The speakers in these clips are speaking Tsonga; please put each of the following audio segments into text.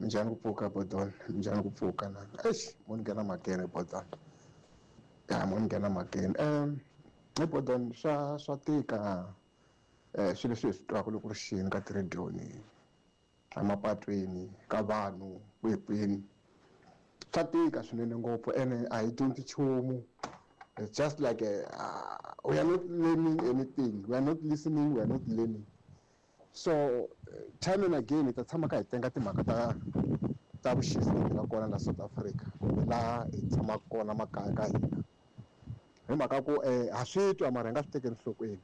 Minjhani ku pfuka Bodon? Minjhani ku pfuka na? Eish, mo ni nghena mhakeni Bodon. Ya mo ni nghena mhakeni. He Bodon swa tika swilo leswi hi swi twaka loko ri xini ka tirediyo emapatwini ka vanhu kwihi kwini. Swa tika swinene ngopfu ene a hi dyondzi nchumu. It's just like we are not learning anything. We are not listening, we are not learning. So time and again hi ta tshama kha hi tenga timhaka ta vuxisi lebyi nga kona la South Africa kumbe laha hi tshamaka kona makaya ka hina. Hi mhaka ku ha swi twa mara hi nga swi tekeli enhlokweni.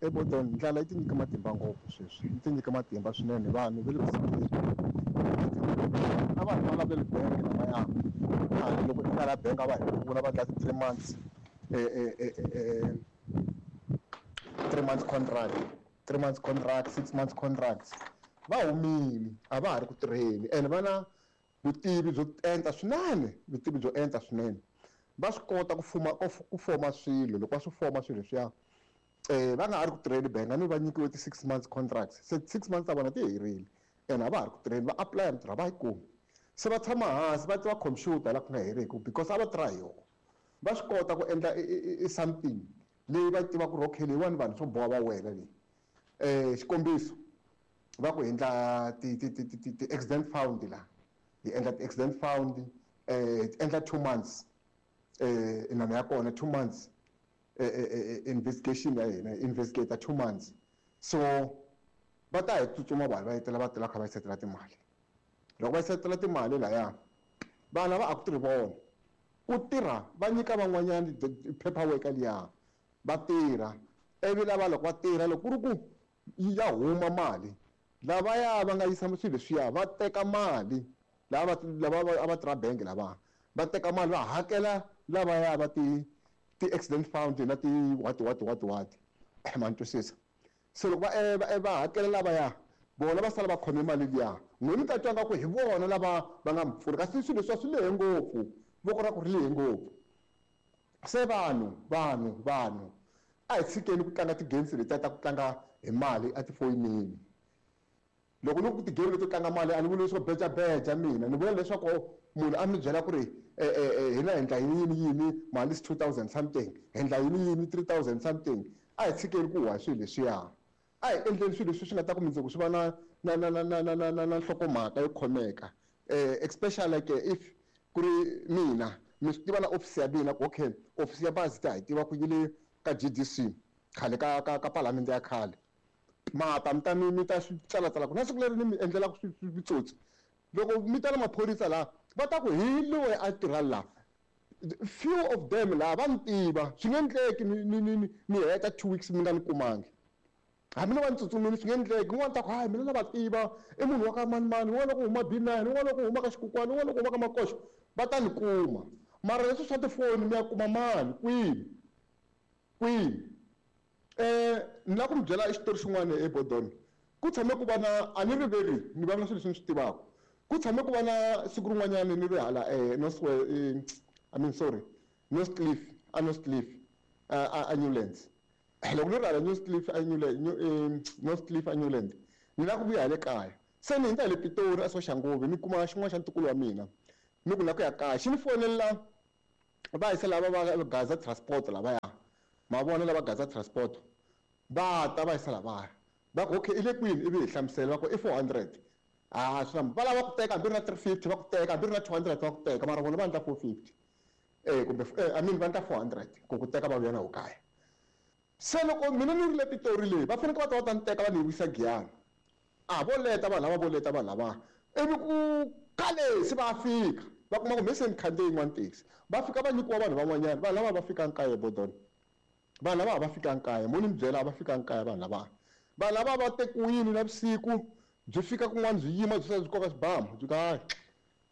Ebodon ndlala yi tinyike matimba ngopfu sweswi, yi tinyike matimba swinene vanhu va le ku sunguleni. Na vanhu va lava le bank lavaya khale loko i la bank a va hi pfuna va endla ti-3 months 3 months contract, 3 months contract, 6 months contracts. Va humile a va ha ri ku tirheni ene va na vutivi byo enta swinene, vutivi byo enta swinene. Va swi kota ku fuma ku foma swilo loko va swi foma swilo leswiya va nga ha ri ku tirheni bank a ni va nyikiwe ti-6 months contracts, se 6 months ta vona ti herile ene a va ha ri ku tirheni, va apply mintirho a va yi kumi. Se va tshama hansi va tiva computer laha ku nga heriki because a va tirha hi yona. Va swi kota ku endla i something leyi va tivaka ku ri okay leyiwani vanhu swo boha va wela leyi. Xikombiso va ku endla ti-accident fund la, hi endla ti-accident fund endla 2 months inana ya kona 2 months investigation ya hina investigate 2 months. So va ta hi tsutsuma vanhu va etela va tela kha va setela timali. Loko va setela timali laya vanhu lava a ku tirhi vona, ku tirha va nyika van'wanyana paperwork liya va tirha, ivi lava loko va tirha loko ku ri ku ya huma mali lavaya va nga yisa swilo leswiya va teka mali lava lava a va tirha bank lava va teka mali va hakela lavaya va ti-accident fund na ti what what what what ma ni twisisa. Se loko va hakela lavaya vona va sala va khome mali liya, n'wina mi ta twa nga ku hi vona lava va nga mi pfuna, kasi swilo leswiya swi lehe ngopfu, voko ra ku ri lehe ngopfu. Se vanhu vanhu vanhu a hi tshikeni ku tlanga ti-games letiya ta ku tlanga hi mali etifonini. Loko ni ku ti-game leto tlanga mali a ni vuli leswaku bejabeja mina, ni vula leswaku munhu a mi byela ku ri hina hi endla yini yini mali is 2000 something, hi endla yini yini 3000 something. A hi tshikeni ku huwa swilo leswiya, a hi endleni swilo leswi swi nga ta ku mundzuku swi va na na na na na na na na na nhlokomhaka yo khomeka. Especially like if ku ri mina mi swi tiva na office ya mina ku okay office ya bazi ta hi tiva ku yi le ka GDC khale ka ka ka palamende ya khale, mata mi ta mi ta swi tsalatsala ku na siku leri ni mi endlelaka switsotsi. Loko mi ta na maphorisa laha va ta ku hi loyi a tirha laha, few of them laha va ni tiva, swi nge endleki ni ni ni ni heta 2 weeks mi nga ni kumangi. Hambi no va ni tsutsumile swi nge endleki, un'wana ta ku hayi mina na va tiva i munhu wa ka manimani, un'wana wa ku huma B9, un'wana wa ku huma ka Xikukwana, un'wana wa ku huma ka Makoxo, va ta ni kuma. Mara leswi swa tifoni mi ya kuma mani kwini kwini? Ni lava ku mi byela xitori xin'wana eBodon. Ku tshame ku va na, a ni riveli ni vulavula swilo leswi ni swi tivaka. Ku tshame ku va na siku rin'wanyana ni ri hala North I mean sorry, North Cliff, a North Cliff a Newlands. Loko ni ri hala North Cliff a Newlands, North Cliff a Newlands, ni lava ku vuya hi le kaya. Se ni hundza hi le Pitori a Soshanguve ni kuma xin'wana xa ntukulu wa mina, ni ku ni lava ku ya kaya. Xi ni fonela va yisa lava va Gaza Transport lavaya, ma vona lava Gaza Transport va ta va yisa lavaya, va ku okay i le kwini, ivi hi hlamusela va ku i 400. Ah swi va lava ku teka hambi ri na 350 va ku teka, hambi ri na 200 va ku teka, mara vona va endla 450 kumbe I mean va endla 400 ku ku teka va vuya na kaya. Se loko mina ni ri le Pitori leyi va fanekele va ta va ta ni teka va ni wisa Giyani. A vo leta vanhu lava, vo leta vanhu lava, ivi ku khale se va fika va kuma ku me se ni khandziye yin'wana taxi, va fika va nyikiwa vanhu van'wanyana. Vanhu lava va fika kaya Bodon, vanhu lava va fika kaya, mo ni mi byela a va fika kaya vanhu lava. Vanhu lava va tekiwile navusiku byi fika kun'wana byi yima byi sala byi koka xibamu byi ka hayi.